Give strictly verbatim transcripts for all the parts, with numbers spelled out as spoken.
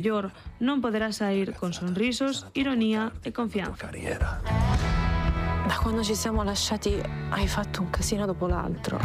mellor non poderá sair con sonrisos, ironía e confianza. Da quando ci siamo lasciati hai fatto un casino dopo l'altro.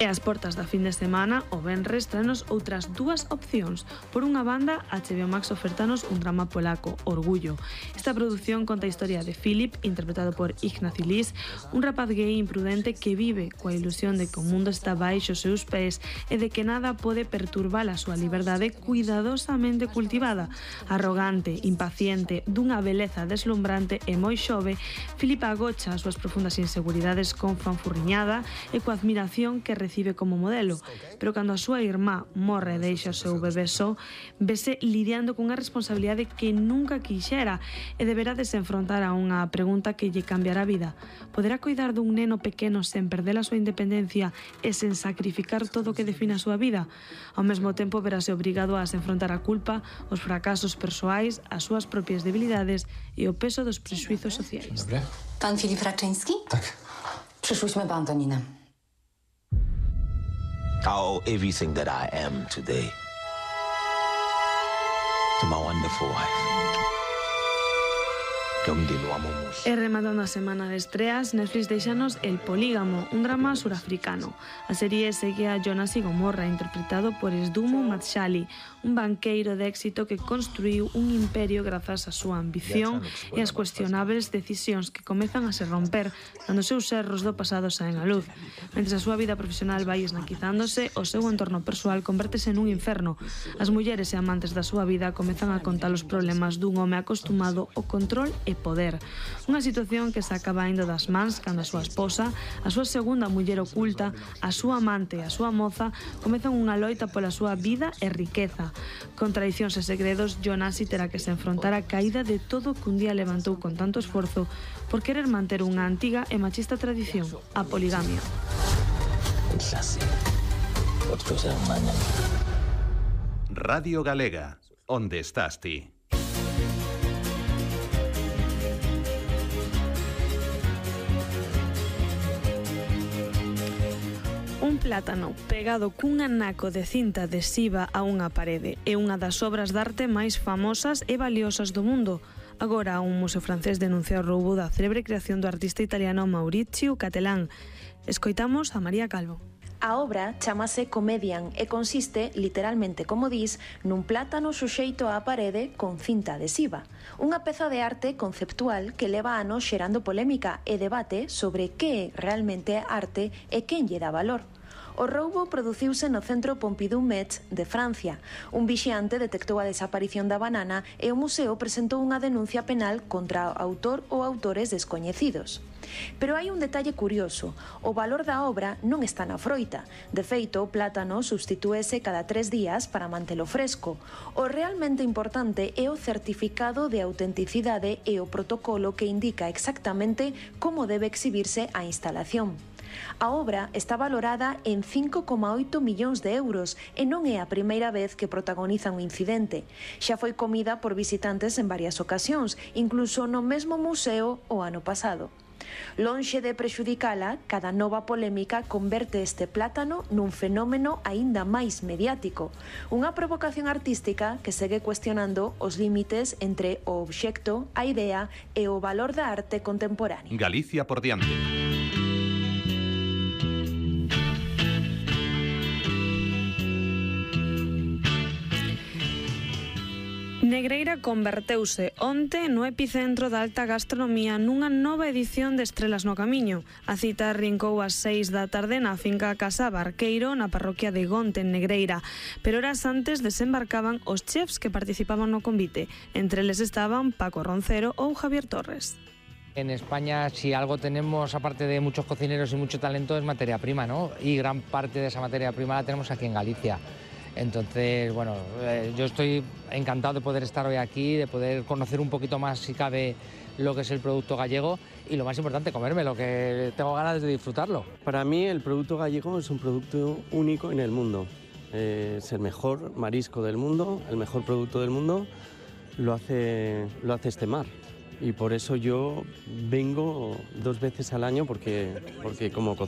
E ás portas da fin de semana, o venres, traenos outras dúas opcións. Por unha banda, H B O Max ofertanos un drama polaco, Orgullo. Esta produción conta a historia de Filip, interpretado por Ignacy Lis, un rapaz gay imprudente que vive coa ilusión de que o mundo está baixo os seus pés e de que nada pode perturbar a súa liberdade cuidadosamente cultivada. Arrogante, impaciente, dunha beleza deslumbrante e moi xove, Filip agocha as súas profundas inseguridades con fanfurriñada e coa admiración que recibe como modelo, pero cando a súa irmá morre e deixa o seu bebé só, vese lidiando cunha responsabilidade que nunca quixera e deberá desenfrontar a unha pregunta que lle cambiará a vida. Poderá coidar dun neno pequeno sen perder a súa independencia e sen sacrificar todo o que define a súa vida? Ao mesmo tempo verase obrigado a enfrontar a culpa, os fracasos persoais, as súas propias debilidades e o peso dos prexuizos sociais. Dobre. Pan Filip Raczyński? Tak. Przyszłyśmy po Antoninę. I owe everything that I am today to my wonderful wife. E rematando a semana de estreas, Netflix deixanos El Polígamo, un drama surafricano. A serie segue a Jonas y Gomorra, interpretado por Esdumo Matshali, un banqueiro de éxito que construiu un imperio grazas á súa ambición e as cuestionables decisións que comezan a se romper cando os seus erros do pasado saen á luz. Mentre a súa vida profesional vai esnaquizándose, o seu entorno persoal convértese nun inferno. As mulleres e amantes da súa vida comezan a contar os problemas dun home acostumado ao control e poder. Unha situación que se acaba indo das mans cando a súa esposa, a súa segunda muller oculta, a súa amante e a súa moza comezan unha loita pola súa vida e riqueza. Con tradicións e segredos, Jonasi terá que se enfrontar a caída de todo que un día levantou con tanto esforzo por querer manter unha antiga e machista tradición, a poligamia. Radio Galega, onde estás ti? Un plátano pegado cun anaco de cinta adhesiva a unha parede é unha das obras de arte máis famosas e valiosas do mundo. Agora, un museo francés denuncia o roubo da célebre creación do artista italiano Maurizio Cattelan. Escoitamos a María Calvo. A obra chamase Comedian e consiste, literalmente como dis, nun plátano suxeito á parede con cinta adhesiva. Unha peza de arte conceptual que leva anos xerando polémica e debate sobre que é realmente arte e quen lle dá valor. O roubo produciuse no Centro Pompidou Metz de Francia. Un vixiante detectou a desaparición da banana e o museo presentou unha denuncia penal contra o autor ou autores descoñecidos. Pero hai un detalle curioso. O valor da obra non está na froita. De feito, o plátano substitúese cada tres días para mantelo fresco. O realmente importante é o certificado de autenticidade e o protocolo que indica exactamente como debe exhibirse a instalación. A obra está valorada en cinco coma oito millóns de euros e non é a primeira vez que protagonizan un incidente. Xa foi comida por visitantes en varias ocasións, incluso no mesmo museo o ano pasado. Lonxe de prexudicala, cada nova polémica converte este plátano nun fenómeno aínda máis mediático. Unha provocación artística que segue cuestionando os límites entre o obxecto, a idea e o valor da arte contemporánea. Galicia por diante. Negreira converteuse onte no epicentro da alta gastronomía nunha nova edición de Estrelas no Camiño. A cita rincou ás seis da tarde na finca Casa Barqueiro, na parroquia de Gonte, en Negreira. Pero horas antes desembarcaban os chefs que participaban no convite. Entre eles estaban Paco Roncero ou Javier Torres. En España, si algo tenemos, aparte de muchos cocineros y mucho talento, es materia prima, ¿no? Y gran parte de esa materia prima la tenemos aquí en Galicia. Entonces, bueno, eh, yo estoy encantado de poder estar hoy aquí, de poder conocer un poquito más, si cabe, lo que es el producto gallego y lo más importante, comérmelo, que tengo ganas de disfrutarlo. Para mí el producto gallego es un producto único en el mundo. Eh, es el mejor marisco del mundo, el mejor producto del mundo, lo hace, lo hace este mar. Y por eso yo vengo dos veces al año porque, porque como cocino